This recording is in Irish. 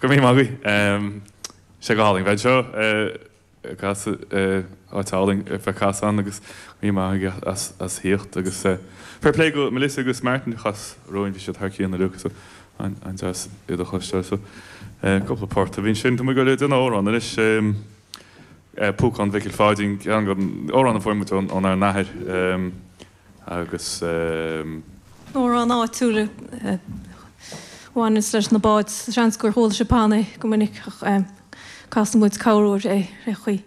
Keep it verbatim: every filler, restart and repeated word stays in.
Go raibh míle maith agaibh. Sé go hálainn bheith anseo ag casadh áit álainn bheith casadh ann agus go raibh míle maith agaibh as as theacht agus fair play go Melissa agus Martin a chas romhainn bhí siad thar cionn inniu so an-deas iad a chloisteáil so cúpla port a bhí ansin. Tá muid ag goil ag déanamh amhrán anois Púcán Mhicil Pháidín ceann den amhrán a fuair muid ónár n-athair agus. Amhrán áitiúil a bhaineanns leis na báid. Seans gur chuala sibh cheana é go minic ach casann muid corruair é ar chaoi.